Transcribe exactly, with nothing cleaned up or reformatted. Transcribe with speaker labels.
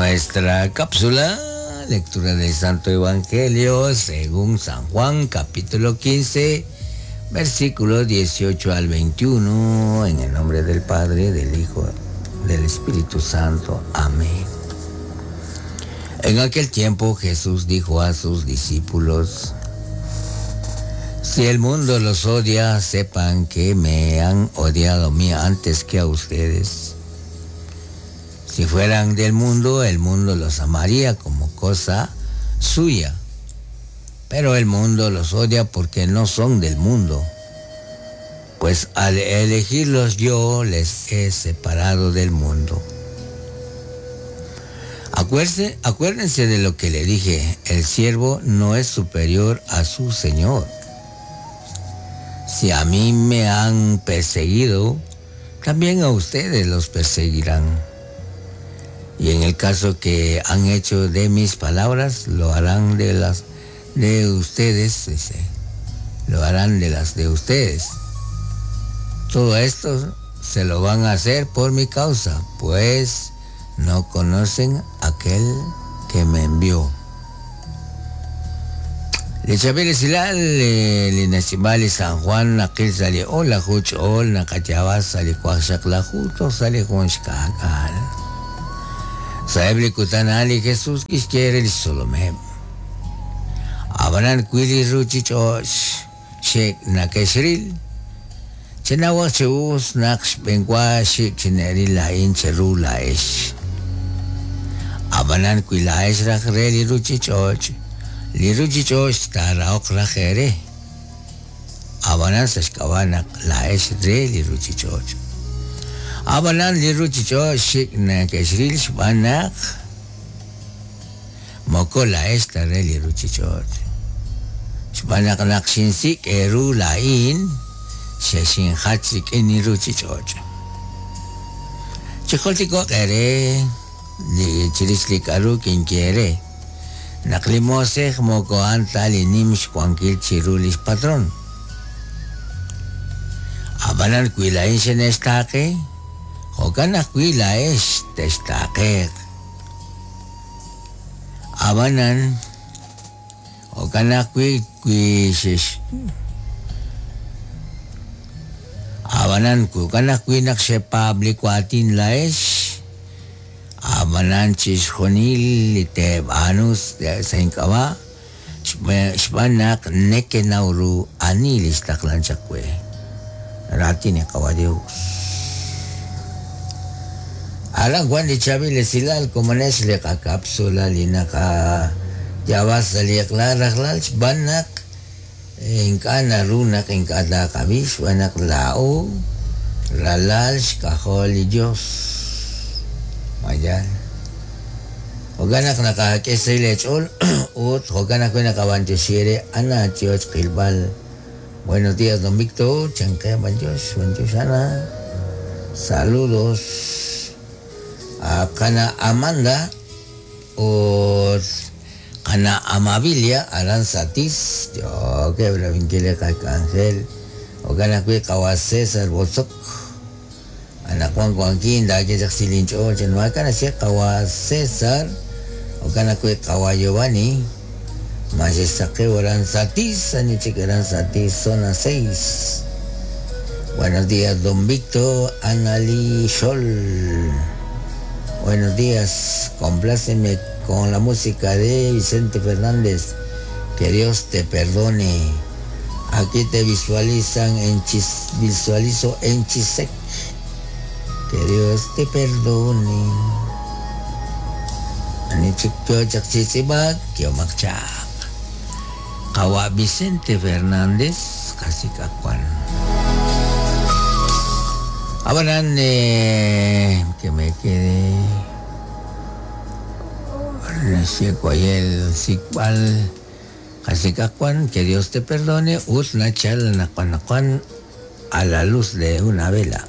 Speaker 1: Nuestra cápsula, lectura del Santo Evangelio según San Juan, capítulo quince, versículos dieciocho al veintiuno, en el nombre del Padre, del Hijo, del Espíritu Santo. Amén. En aquel tiempo Jesús dijo a sus discípulos: si el mundo los odia, sepan que me han odiado a mí antes que a ustedes. Si fueran del mundo, el mundo los amaría como cosa suya. Pero el mundo los odia porque no son del mundo. Pues al elegirlos yo les he separado del mundo. Acuérdense, acuérdense de lo que le dije, el siervo no es superior a su señor. Si a mí me han perseguido, también a ustedes los perseguirán. Y en el caso que han hecho de mis palabras, lo harán de las de ustedes, dice, lo harán de las de ustedes. Todo esto se lo van a hacer por mi causa, pues no conocen aquel que me envió. Le chabele silal le nacimale San Juan aquel sale hola juch ol nakachabas sale cuaxac la juto sale con xcacal. Saeble kutanali Jesús quiere el solomem. Abanan kuili ruchichosh shek nakeshril. Chenawa cheus naksh benqua shik chineri la incheru la esh. Abanan kuila esh rajreli ruchichosh. Li ruchichosh taraok rajere. Abanan sashkawanak la esh reli ruchichosh. Abanan li ruchichosh shik nakeshril shbanak. Moko la esta reli ruchichosh. Shbanak nakshinsik eru lain. Sheshin hatsik eni ruchichoch. Chicholtiko ere, li chirislik aru quien quiere. Naklimosej moko antali nimsh cuanquil chirulis patrón. Abanan cuilain shenestake, jokana cuila es testake. Abanan, jokana cui cuishish. Abanan kukanak winak shepa ablikuatin laesh. Abanan chishjonil liteb anus seinkawa. Shbanak nekenauru anilis taklan chakwe. Ratine kawa Dios. Alan Juan de Chavile silal como nesle ka cápsula linaka yabas liakla raklal shbanak. Inkana runak inkada kabish wanak lao ralal shkaholi Dios. Mayan. Hoganak nakakesay lechol ut hoganak nakabanchoshiere ana chioch kilbal. Buenos días, don Víctor. Chanque banchos, banchos ana. Saludos a Kana Amanda ut Ana Amabilia Aranzatis, yo que bravinquile Ángel, Ogana Cui Kawa César Bozok, Ana Juan Juanquín, da que Jaxilincho, Chenuacana, Kawa César, Ogana Cui Kawa Giovanni, Majesake Aranzatis, Anichik Aranzatis, zona seis. Buenos días, don Víctor, Anali Scholl. Buenos días, compláceme con la música de Vicente Fernández. Que Dios te perdone. Aquí te visualizan en Chis, visualizo en Chisec. Que Dios te perdone. Kawa Vicente Fernández, Kasikakuan. Abanan eh, que me quede. Que Dios te perdone, a la luz de una vela.